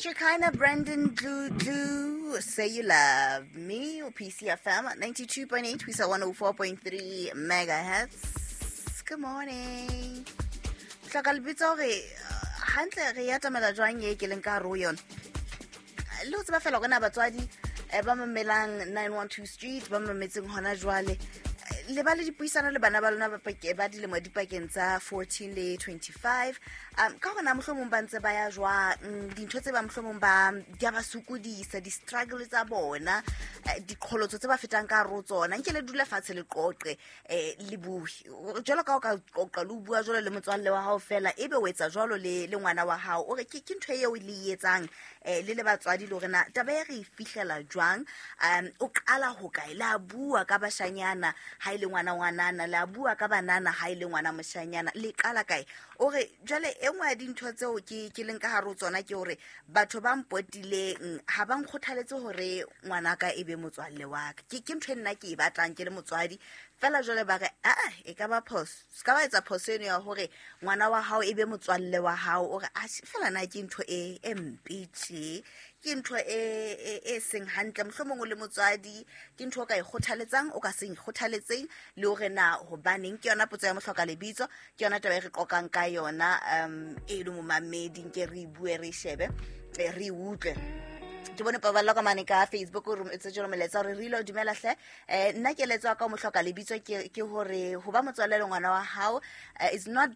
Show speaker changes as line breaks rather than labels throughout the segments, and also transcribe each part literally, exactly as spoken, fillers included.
Shekinah Brandon Dludlu, Say You Love Me, or P C F M at ninety-two point eight, we saw one oh four point three megahertz. Good morning. Hloka lebitso hore hantle re atamela jwang e ke leng ka hare ho yona. Le ho tseba fela hore na batswadi ba mamelang nine one two Street, ba mametseng hona jwale, le ba le dipuisano le bana ba lona ba pake ba dilemo dipakeng tsa fourteen le twenty-five. Um ka hore na mohlomong ba ntse ba ya jwang, dintho tse ba mohlomong ba di a ba sokodisa, di-struggle tsa bona, diqholotso tse ba fetang ka hare ho tsona. Nke le dule fatshe le qoqe, eh le bue. Jwalo ka o ka qoqa le bua jwalo le motswalle wa hao fela, ebe o etsa jwalo le le ngwana wa hao. O re ke ke ntho eo le e etsang eh le le batswadi le hore na taba e re e fihlela jwang. Um o qala ho kae, la bua ka bashanyana ha ile ngwana ngwanana, la bua ka banana ha ile ngwana moshanyana, le qala kae. O re jwale e nngwe ya dintho tseo ke ke leng ka hare ho tsona ke hore batho ba mpotileng ha ba nkgothaletse hore ngwanaka e be motswalle wa ka. Ke ke ntho e nna ke e batlang ke le motswadi fela. Jwale ba re a a e ka ba phoso, se ka ba etsa phoso eno ya hore ngwana wa hao e be motswalle wa hao. O re a fela na ke ntho e e mpe tje, ke ntho e e e seng hantle. Mohlomong o le motswadi ke ntho o ka e kgothaletsang, o ka se kgothaletseng, le hore na hobaneng. Ke yona potso ya mohloka lebitso, ke yona taba e re qoqang ka yona. Um e le momamedi nke re bue, re shebe, re utlwe. Ke bone paballo ka mane ka Facebook o rometse jalo molaetsa hore re ile dumela hle. Eh nna keletso ya ka mohloka lebitso ke ke hore ho ba motswalle le ngwana wa hao is not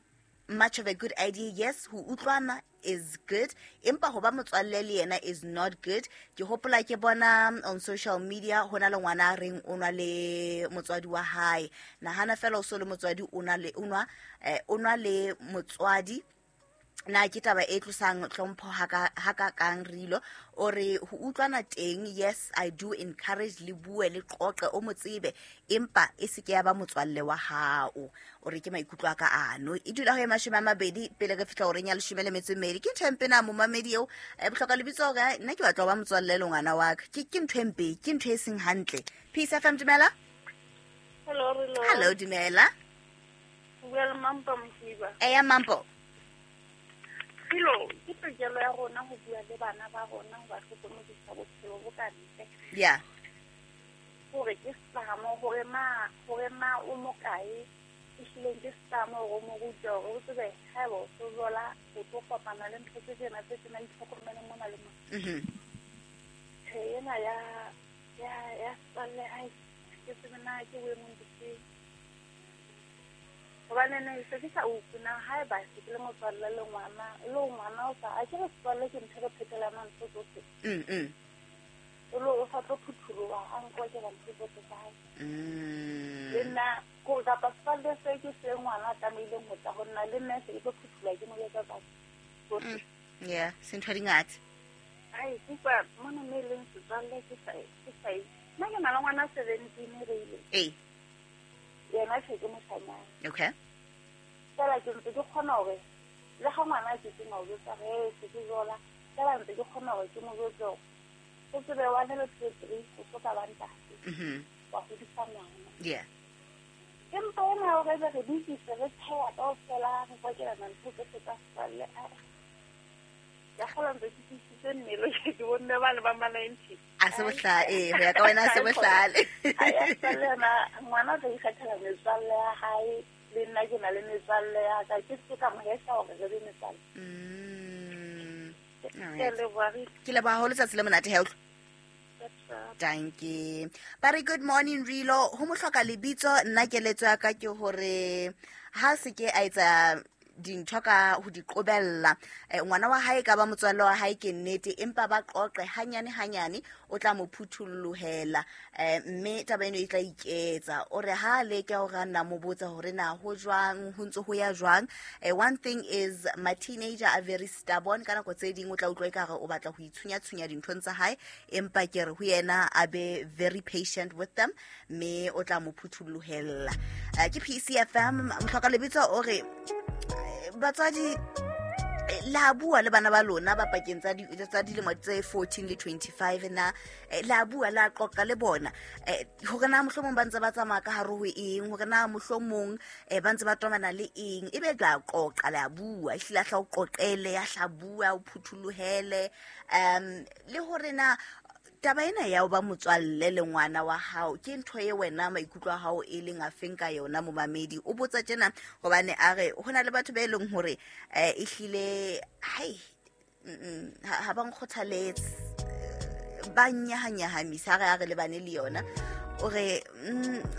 much of a good idea. Yes, ho utlwana is good, empa ho ba motswalle le yena is not good. Ke hopola ke bona on social media hona le ngwana a reng o nwa le motswadi wa hae. Nahana fela o so le motswadi o na le o nwa eh, o nwa le motswadi. Na ke taba e tlosang hlompho ha ka ha ka kang rilo. O re ho utlwana teng, yes I do encourage le bue le qoqe o motsebe, empa e se ke ya ba motswalle wa hao. O re ke maikutlo a ka ano. E dula ho e mashome a mabedi pele re fihla horeng ya leshome le metso e mmedi. Ke ntho e mpe na momamedi eo e bohloka lebitso hore nna ke batla ho ba motswalle le ngwana wa ka. Ke ke ntho e mpe, ke ntho e seng hantle. Peace F M, dumela.
Hello, hello.
Hello, dumela.
Bua le Mampo Modiba.
Eya Mampo.
Philo, ke tokelo ya rona ho bua le bana ba rona ho ba hlokomedisa bophelo bo ka ntle.
Yeah.
Hore ke setlamo, hore ma, hore ma o mokae, ehlile ke setlamo hore o mo rute hore o tsebe haeba o sojola, o tlo kopana le ntho tse tjena tse tjena, itlhokomele mona le mona.
Mhm.
Tjhe, ena ya ya ya setswalle, ai, ke tsebe na ke boemong bofeng. Hobane ne se ke sa utlwe na haeba se ke le motswalle le ngwana, le ngwana o sa, a ke re setswalle ke ntho e re phetelanang ntho tsohle.
Mm, mm.
O lo o sa tlo phuthuloha, a nkwakela ntho tsohle tsa hae.
Mm.
Le nna, ko kapa setswalle se ke se ngwana a tlamehileng ho tla ho nna, le nna se ke tlo phuthuloha ke mo jwetsa tsa tsohle.
Mm. Yeah, se ntho di ngata.
Ai, ke utlwa mona mo e leng setswalle ke sa, ke sa e. Nna ke na le ngwana seventeen re ile.
Ee.
Yena tjhe ke moshanyana.
Okay.
Fela ke ntse ke kgona hore le ha ngwana a ke ke mo jwetsa he se ke jola, fela ntse ke kgona hore ke mo jwetse hore o tsebe one le two three o tlo ka ba ntate.
Mhm.
Wa hodisa ngwana.
Yeah.
Empa ena hore ebe re dutse re tsheha kaofela, re kwakelana ntho tsohle tsa setswalle, a ya kgola ntse ke tiisitse mmele, ke bonne ba le ba ma ninety.
A se bohlale, eh, ho ya ka wena a se bohlale.
A ya setswalle yona, ngwana o tla ikgethela metswalle ya hae, le nna ke na le metswalle ya ka, ke se ka mo hesa hore re be metswalle.
Mm.
Ke a leboha, re
Ke leboha haholo, tsatsi le monate he, utlwa. Dankie. Ba re good morning Rilo, ho mohloka lebitso nna keletso ya ka ke hore ha se ke a etsa dintho ka ho di qobella. Eh, ngwana wa hae ka ba motswalle wa hae ke nnete, empa ba qoqe hanyane hanyane, o tla mo phuthollohela. Eh, mme taba eno e tla iketsa. O re ha leke hore a nna mo botsa hore na ho jwang, ho ntse ho ya jwang. Eh, one thing is my teenager are very stubborn. Ka nako tse ding o tla utlwa ekare o batla ho itshunya-tshunya dinthong tsa hae, empa ke re ho yena a be very patient with them, mme o tla mo phuthollohela. Eh, ke P C F M, mohloka lebitso o re batswadi La bua le bana ba lona ba pakeng tsa tsa dilemo tse fourteen le twenty-five na la bua la qoqa le bona hore na mohlomong ba ntse ba tsamaya ka hare ho eng, hore na mohlomong ba ntse ba tomana le eng, ebe la qoqa la bua ehlile a hla o qoqele ya hla bua o phuthulohele um le hore na taba ena ya ho ba motswalle le ngwana wa hao ke ntho e wena maikutlo a hao e leng a feng ka yona momamedi. O botsa tjena hobane a re ho na le batho ba e leng hore eh ehlile hai ha ba nkgothaletse ba nyahanyahamisa re a re lebane le yona o re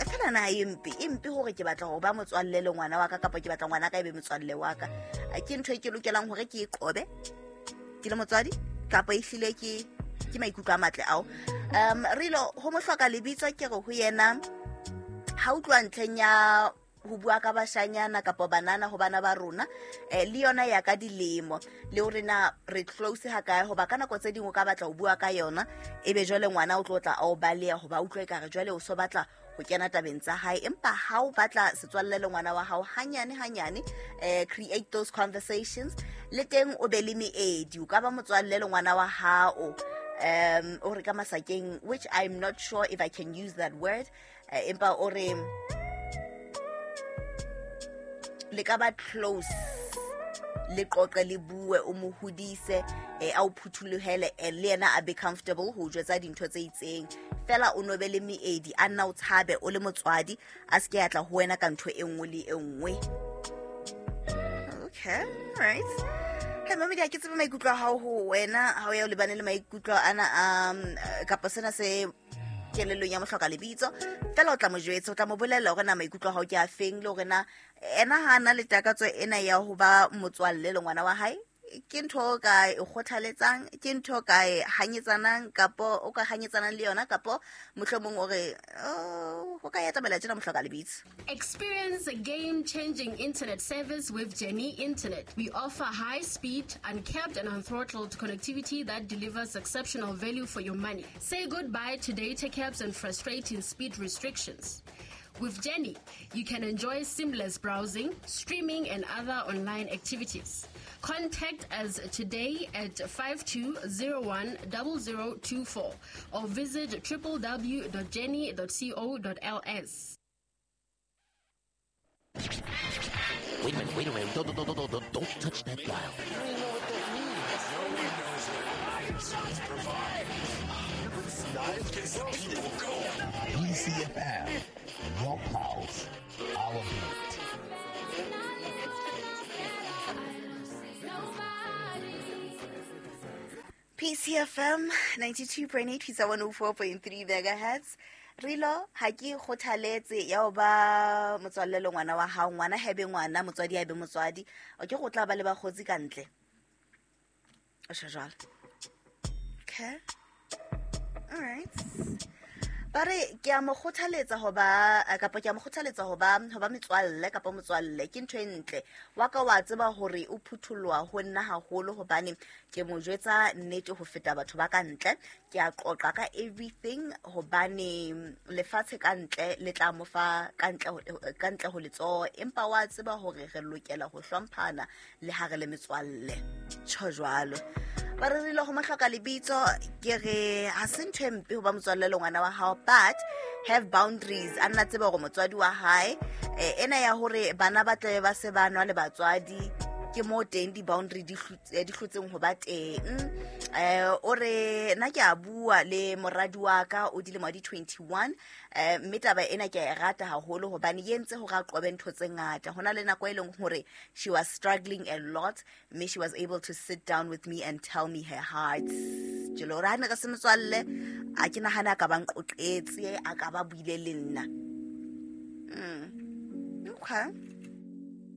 fela na e mpe e mpe hore ke batla ho ba motswalle le ngwana wa ka kapa ke batla ngwana ka e be motswalle wa ka, ke ntho e ke lokelang hore ke e qobe ke le motswadi kapa ehlile ke ke maikutlo a matle ao. Um rilo ho mohloka lebitso ke re ho yena ha utlwa ntleng ya ho bua ka bashanyana kapa banana ho bana ba rona eh le yona ya ka dilemo le hore na re close ha kae, hoba ka nako tse dingwe ka batla ho bua ka yona ebe jwale ngwana o tlo tla a o baleha hoba utlwe ka re jwale o so batla ho kena tabeng tsa hae. Empa ha o batla setswalle le ngwana wa hao hanyane hanyane eh create those conversations le teng o be le meedi, o ka ba motswalle le ngwana wa hao um o re ka masakeng, which I'm not sure if I can use that word, empa o re le ka ba close le qoqe le bue o mo hodise a o phuthulohele le yena a be comfortable ho jwetsa dintho tse itseng fela o nobe le meedi a nna o tshabe o le motswadi a se ke a tla ho wena ka ntho e nngwe le e nngwe. Okay, all right. Hey mamedi, a ke tsebe maikutlo a hao ho wena ha o ya o lebane le maikutlo ana um kapa sena se kelellong ya mohloka lebitso fela o tla mo jwetsa, o tla mo bolella hore na maikutlo a hao ke a feng le hore na ena ha ana le takatso ena ya ho ba motswalle le ngwana wa hae ke ntho o ka e kgothaletsang, ke ntho ka e hanyetsanang kapo o ka hanyetsanang le yona kapo mohlomong o re oh ho ka ya tabela tjena mohloka lebitso.
Experience a game-changing internet service with Jenny Internet. We offer high-speed, uncapped and unthrottled connectivity that delivers exceptional value for your money. Say goodbye to data caps and frustrating speed restrictions. With Jenny, you can enjoy seamless browsing, streaming, and other online activities. Contact us today at five two zero one zero zero two four or visit w w w dot jenny dot co dot l s.
Wait a minute, wait a minute. Don't, don't, don't, don't, don't touch that dial.
I don't even know what that means. No one knows what it provide. People go.
P C F M, your pulse, our beat.
P C F M ninety-two point eight, one oh four point three megahertz. Rilo ha ke kgothaletse ya ho ba motswalle le ngwana wa hao, ngwana ha ebe ngwana, motswadi ha ebe motswadi. O ke go tla ba le bakgotsi ka ntle. O sho jwalo. Okay. All right. Ba re ke a mo kgothaletsa ho ba kapa ke a mo kgothaletsa ho ba ho ba metswalle kapa motswalle ke ntho e ntle. Wa ka wa tseba hore o phuthuloha ho nna haholo hobane ke mo jwetsa nnete ho feta batho ba ka ntle. Ke a qoqa ka everything hobane lefatshe ka ntle le tla mo fa ka ntle ka ntle ho letsoho, empa wa tseba hore re lokela ho hlomphana le ha re le metswalle. Tjho jwalo. Ba re rile ho mohloka lebitso ke re ha se ntho e mpe ho ba motswalle le ngwana wa hao, but have boundaries. A nna tseba hore motswadi wa hae ena ya hore bana ba tlabe ba se ba nwa le batswadi ke mo teng di boundary di hlotseng ho ba teng. Eh o re nna ke a bua le moradi wa ka o dilemo di twenty-one eh mme taba ena ke a e rata haholo hobane e entse hore a qobe ntho tse ngata. Hona le nako e leng hore she was struggling a lot, mme she was able to sit down with me and tell me her heart. Jelo ra ne re se motswalle a ke nahana ka ba nqoqetse a ka ba buile le nna. Mm. Okay.